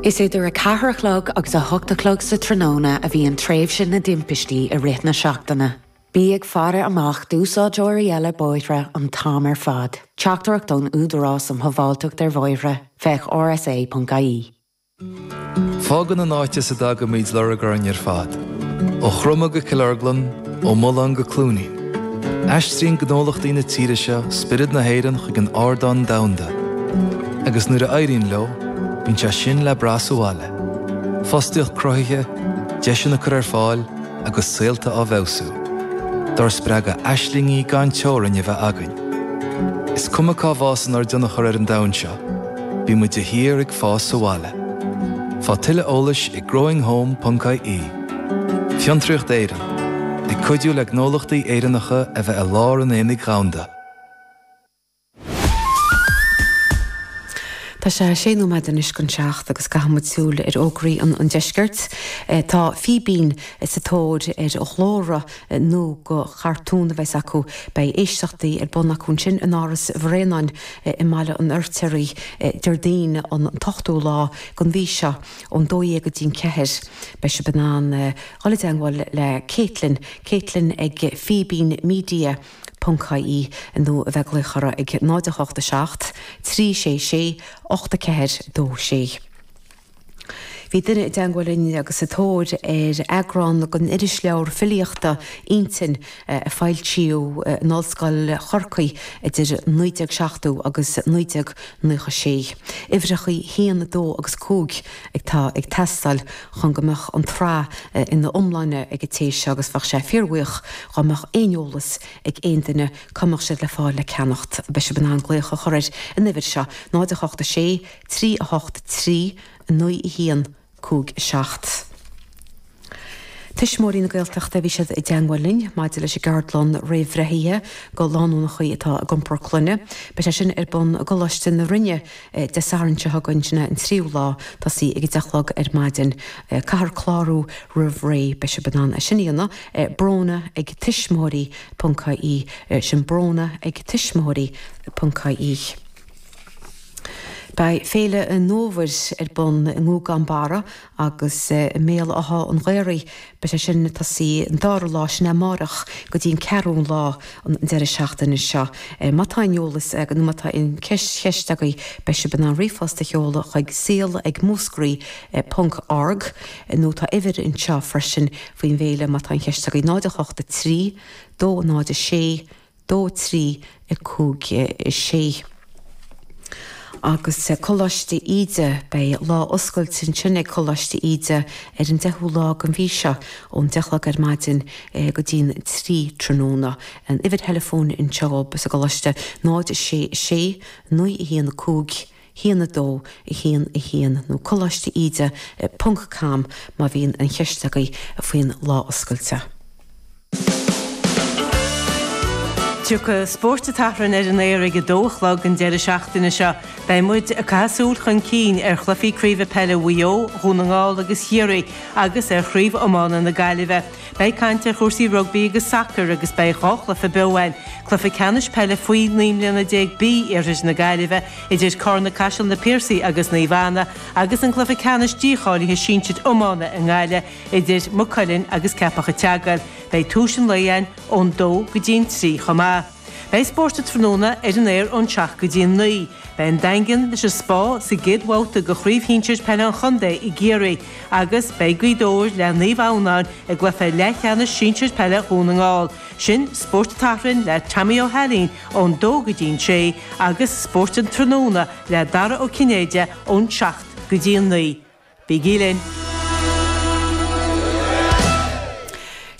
Is idir 4 a chlog agus 8 a chlog sa tráthnóna a bhíonn tréimhse na dtimpistí i rith na seachtaine. Bí ag faire amach d'úsáideoirí eile bóithre an t-am ar fad. Teachtaireacht ón Údarás um Shábháilteacht ar Bhóithre, féach rsa.ie. Fágann an áit as a dtagaimid lorg orainn ar fad, ó Chromtha go Cill Orglan, ó Mullán go Cluainín. Aistríonn gnólachtaí na tíre seo spiorad na hÉireann chuig an ardán domhanda. Agus nuair a éiríonn leo, bíonn sé sin le brath sa bhaile. Fostaíocht cruthaithe, deiseanna curtha ar fáil agus saolta á bhfeabhsú. Dár spreagadh aislingí gan teorainn a bheith againn. Is cuma cá bhfásann ár dtionchar ar an domhan seo, bíonn muid de shíor ag fás sa bhaile. Faigh tuilleadh eolais ag growinghome.ie. Fiontraíocht Éireann, ag cuidiú le gnólachtaí Éireannacha a bheith i lár an aonaigh dhomhanda. Tá sé sé nóiméad anois don seacht agus caithfidh muid súil ar fhógraí an deiscirt. Tá Fíbín sa tóir ar ghlór nua do chartún a bheas acu. Beidh éisteachtaí ar bun acu ansin in Áras Bhréanainn i mBaile an Fheirtéaraigh Déardaoin an t-ochtú lá den mhí seo ón 12 go dtí'n 4. Beidh sibh in ann dhul i dteangmháil le Caitlin, Caitlin ag Fíbín Media. ponc ie nó a bheith ag glaoch orthu ag 0 8 7 3 6 6 8 4 2 6. Bhí duine i dteangmháil linn agus sa tóir ar eagrán den irisleabhar filíochta Intinn a foilsíodh in Ollscoil Chorcaí idir 1970 agus 1996. Uimhreachaí 1, 2 agus 5 atá ag teastáil chun go mbeadh an tsraith ina iomláine ag an té seo agus bheadh sé fíorbhuíoch dhá mbeadh aon eolas ag aon duine cá mbeadh siad le fáil le ceannacht. Beidh sibh in ann glaoch a chur ar an uimhir seo, 0 8 6 3 8 3 9 1 5 7. Tuismitheoirí na Gaeltachta, bhí siad i dteangmháil linn maidir leis an gceardlann réamhbhreithe do lánúnachaí atá ag iompar clainne. Beidh sé sin ar bun i gColáiste na Rinne Dé Sathairn seo chugainn, sin é an tríú lá, tosaí ag a 10 a chlog ar maidin. Caithfear clárú roimh ré, beidh sibh in ann é sin a dhéanamh, Bróna ag tuismitheoirí ponc ie, sin Bróna ag tuismitheoirí ponc ie. Beidh Féile an Fhómhair ar bun i nGúgán Barra agus i mBéal Átha an Ghaorthaidh. Beidh sé sin ag tosaí an dara lá, sin é amáireach, go dtí an ceathrú lá an deireadh seachtaine seo. Má tá aon eolas nó má tá aon cheist agaibh beidh sibh in ann ríomhphost a sheoladh chuig saol ag múscraí ponc org nó tá uimhir anseo freisin faoin bhféile má tá aon cheist agaibh 0 8 3 2 0 6 2 3 5 6. Agus Coláiste Íde, beidh lá oscailte ansin ag Coláiste Íde ar an 10ú lá den mhí seo ón 10 a chlog ar maidin go dtí'n 3 tráthnóna. An uimhir theileafóin anseo sa gcoláiste 0 6 6 9 1 5 1 2 1 1 nó coláiste íde ponc com má bhíonn aon cheist agaibh faoin lá oscailte. Tiocfaidh Spórt an tSathairn ar an aer ag a dó a chlog an deireadh seachtaine seo. Beidh muid ag caitheamh súil chun cinn ar chluichí craoibhe peile Mhaigh Eo, Dhún na nGall agus Chiarraí agus ar chraobh iomána na Gaillimhe. Beidh caint ar chúrsaí rugbaí agus sacair agus beidh dhá chluiche beo againn, cluiche ceannais peile faoi 19 mbliana B Iarthar na Gaillimhe idir Carna-Caiseal Na Piarsaigh agus Naomh Anna agus an cluiche ceannais dícháilithe sinsir iomána i nGaillimh idir Maigh Cuilinn agus Ceapach an tSeagail. Beidh tús an lae againn ón dó go dtí an trí chomh maith. Beidh Spórt an Tráthnóna ar an aer ón seacht go dtí an naoi. Beidh an Daingean leis an Spá sa gcéad bhabhta de Chraobh Shinsir Peile an Chontae i gCiarraí agus beidh Gaoth Dobhair le Naomh Adhamhnáin i gcluiche leathcheannais sinsir peile Dhún na nGall. Sin Spórt an tSathairn le Tommy Ó hAilín ón dó go dtí an sé agus Spórt an Tráthnóna le Dara Ó Cinnéide ón seacht go dtí an naoi. Bígí linn!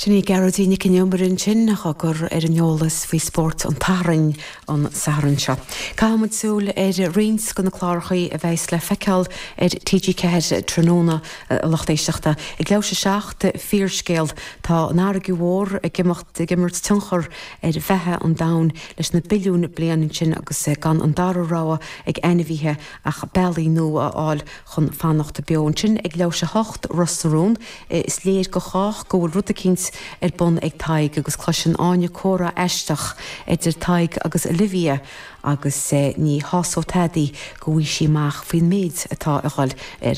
Sin í Gearóidín Nic an Iomaire ansin á cur ar an eolas faoi spórt an tSathairn an Satharn seo. Caithfidh muid súil ar roinnt de na clárachaí a bheas le feiceáil ar TG4 tráthnóna, a lucht éisteachta. Ag leathuair tar éis a 7, Fíorscéal. Tá an fharraige mhór ag imeacht, ag imirt tionchar ar bheatha an domhain leis na billiúin bliain ansin agus gan an dara rogha ag ainmhithe ach bealaí nua a fháil chun fanacht beo. Ansin ag leathuair tar éis a hocht, Ros na Rún, is léir go chách go bhfuil rud eicínt ar bun ag Tadhg agus cloiseann Áine comhrá aisteach idir Tadhg agus Olivia agus ní shásóidh tada í go bhfaighidh sí amach faoin méid atá ag dhul ar.